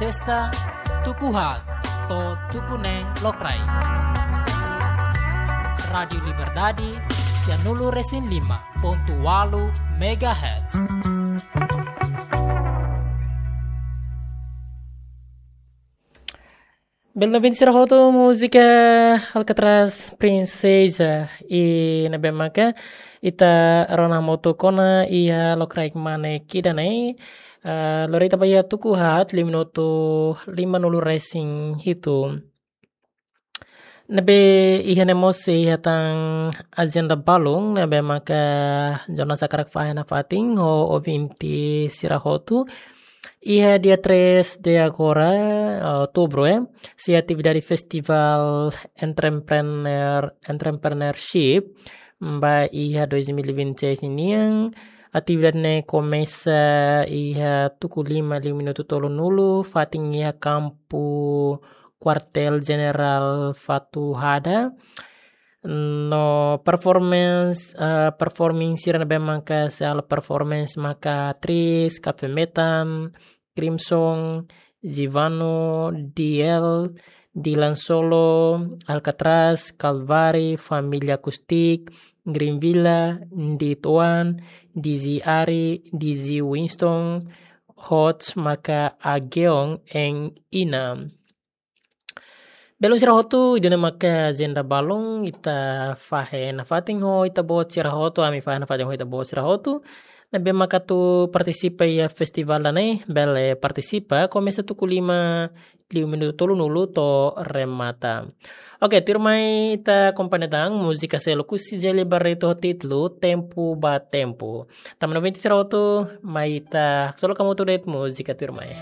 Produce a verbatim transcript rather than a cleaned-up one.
Testa tuku haat to'o tuku neen lokraik. Rádiu Liberdade, sianulu resin lima pontu ualu megahertz. Bele ouvinte sira hotu, múzika Alcatraz Princesa. I ne'ebé maka ita rona hamutuk ona iha lokraik mane ida-ne'e. Ah, lori ita ba iha tuku haat, lima minutu lima-nulu resin hitu. Ne'ebé iha ne'e mós iha tan ajenda balun, ne'ebé maka jornál sira hakarak fahe nafatin ho ouvinte sira hotu. Iha dia três de agora, outubro, eh, sei atividade Festival Entrepreneur, Entrepreneurship, ba iha dois mil e vinte e seis nian. Atividade ne'e komesa iha tuku lima liu minutu tolunulu, fatin iha kampu Kuartél Jenerál Fatuhada. No performance, eh, performing sira ne'ebé maka sei halo performance maka Tris, Cafe Metan, Crimson, Zivano, D L, Dylan Solo, Alcatraz, Calvary, Família Acoustic, Green Villa, Ndit One, D J Ari, D J Winston, Hot maka Ageon en Ina. Belun sira hotu, ida-ne'e maka ajenda balun, ita fahe nafatin ho ita-boot sira hotu, ami fahe nafatin ho ita-boot sira hotu. Ne'ebé maka atu partisipa iha festival ida-ne'e, bele partisipa, komesa tuku lima liu minutu tolunulu to'o remata. Oke, tuirmai ita akompaña tan múzika seluk husi Gelly Barreto ho títulu Tempu ba Tempu. Tanba ouvinte sira hotu, mai ita haksolok hamutuk de'it múzika tuirmai.